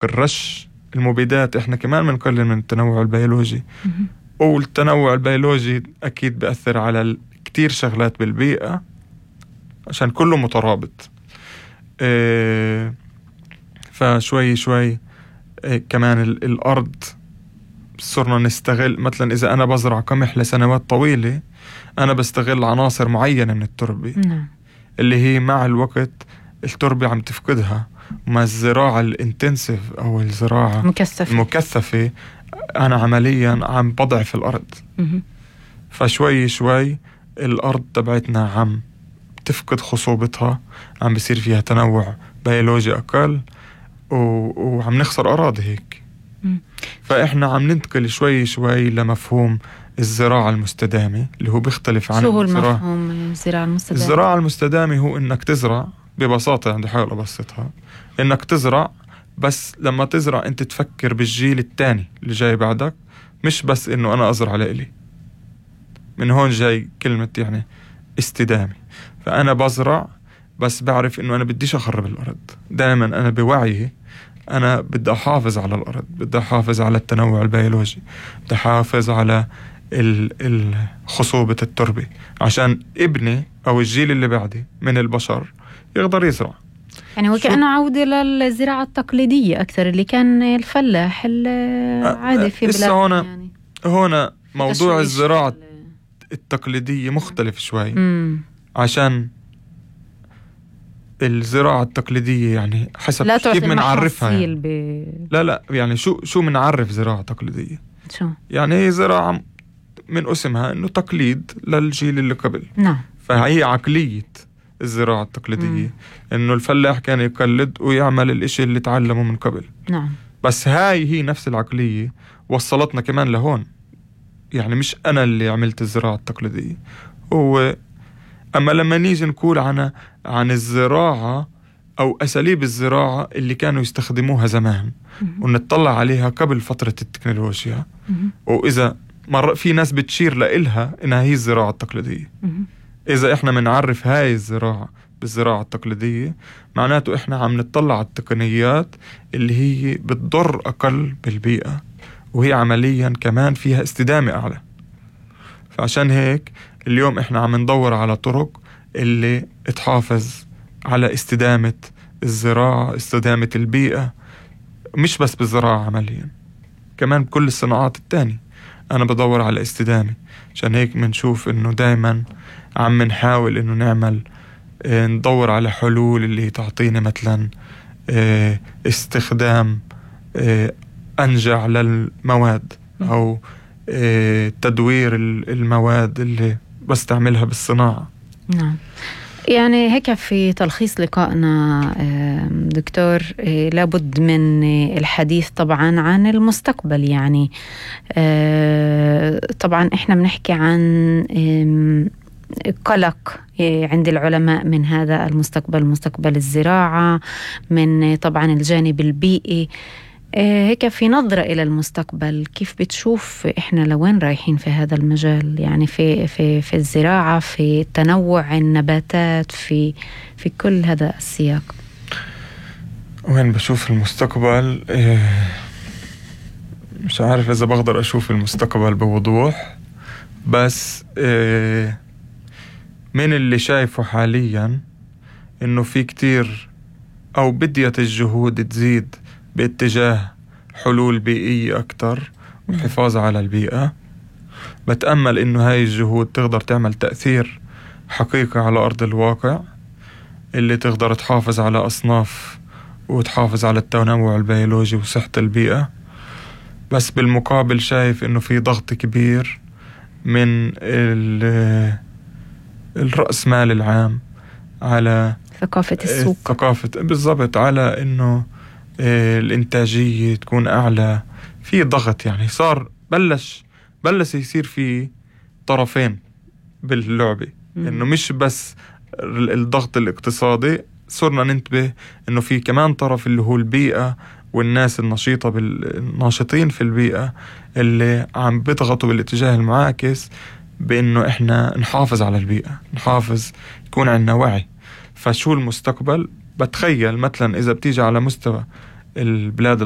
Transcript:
الرش المبيدات إحنا كمان بنقلل من التنوع البيولوجي. والتنوع البيولوجي أكيد بيأثر على كتير شغلات بالبيئة عشان كله مترابط. فشوي شوي كمان الأرض صرنا نستغل. مثلا إذا أنا بزرع قمح لسنوات طويلة أنا بستغل عناصر معينة من التربة اللي هي مع الوقت التربة عم تفقدها. مع الزراعة الانتنسيف أو الزراعة المكثفة أنا عمليا عم بضعف الأرض. فشوي شوي الأرض تبعتنا عم تفقد خصوبتها، عم بيصير فيها تنوع بيولوجي أقل وعم نخسر أراضي هيك. فإحنا عم ننتقل شوي شوي لمفهوم الزراعة المستدامة اللي هو بيختلف عن شو هو المفهوم الزراعة المستدامة؟ الزراعة المستدامة هو إنك تزرع ببساطة، عندي حاول أبسطها، إنك تزرع بس لما تزرع أنت تفكر بالجيل الثاني اللي جاي بعدك، مش بس إنه أنا أزرع لإلي. من هون جاي كلمة يعني استدامة. فأنا بزرع بس بعرف إنه أنا بديش أخرب الأرض. دائما أنا بوعي أنا بدي أحافظ على الأرض، بدي أحافظ على التنوع البيولوجي، بدي أحافظ على خصوبة التربة عشان ابني أو الجيل اللي بعدي من البشر يقدر يزرع. يعني وكأنه عودة للزراعة التقليدية أكثر اللي كان الفلاح العادي في بلاد. يعني هنا موضوع الزراعة التقليدية مختلف شوي. عشان الزراعة التقليدية يعني حسب كيف منعرفها يعني. لا يعني شو منعرف زراعة تقليدية؟ شو؟ يعني هي زراعة من اسمها إنه تقليد للجيل اللي قبل. نعم. فهي عقلية الزراعة التقليدية إنه الفلاح كان يقلد ويعمل الإشي اللي تعلمه من قبل. نعم. بس هي نفس العقلية وصلتنا كمان لهون. يعني مش أنا اللي عملت الزراعة التقليدية، هو. أما لما نيجي نقول عن الزراعة أو أساليب الزراعة اللي كانوا يستخدموها زمان ونطلع عليها قبل فترة التكنولوجيا، وإذا في ناس بتشير لإلها إنها هي الزراعة التقليدية. إذا إحنا منعرف هاي الزراعة بالزراعة التقليدية معناته إحنا عم نطلع على التقنيات اللي هي بتضر أقل بالبيئة وهي عمليا كمان فيها استدامة أعلى. فعشان هيك اليوم إحنا عم ندور على طرق اللي تحافظ على استدامة الزراعة، استدامة البيئة، مش بس بالزراعة عمليا، كمان بكل الصناعات التانية أنا بدور على استدامة. عشان هيك منشوف إنه دايما عم نحاول إنه نعمل ندور على حلول اللي تعطينا مثلا استخدام أنجع للمواد أو تدوير المواد اللي بستعملها بالصناعة. نعم. يعني هيك في تلخيص لقائنا دكتور، لابد من الحديث طبعا عن المستقبل. يعني طبعا احنا بنحكي عن قلق عند العلماء من هذا المستقبل، مستقبل الزراعة، من طبعا الجانب البيئي. هيك في نظرة إلى المستقبل كيف بتشوف إحنا لوين رايحين في هذا المجال؟ يعني في الزراعة، في تنوع النباتات، في كل هذا السياق. وين بشوف المستقبل؟ مش عارف إذا بقدر أشوف المستقبل بوضوح، بس من اللي شايفه حاليا إنه في كتير أو بديت الجهود تزيد باتجاه حلول بيئية أكتر وحفاظ على البيئة. بتأمل إنه هاي الجهود تقدر تعمل تأثير حقيقي على أرض الواقع، اللي تقدر تحافظ على أصناف وتحافظ على التنوع البيولوجي وصحة البيئة. بس بالمقابل شايف إنه في ضغط كبير من الرأس مال العام على ثقافة السوق، بالضبط، على إنه الإنتاجية تكون أعلى. في ضغط، يعني صار بلش يصير في طرفين باللعبة. إنه مش بس الضغط الاقتصادي، صرنا ننتبه إنه في كمان طرف اللي هو البيئة والناس النشيطة الناشطين في البيئة اللي عم بيضغطوا بالاتجاه المعاكس بإنه إحنا نحافظ على البيئة، يكون عندنا وعي. فشو المستقبل؟ بتخيل مثلا إذا بتيجي على مستوى البلاد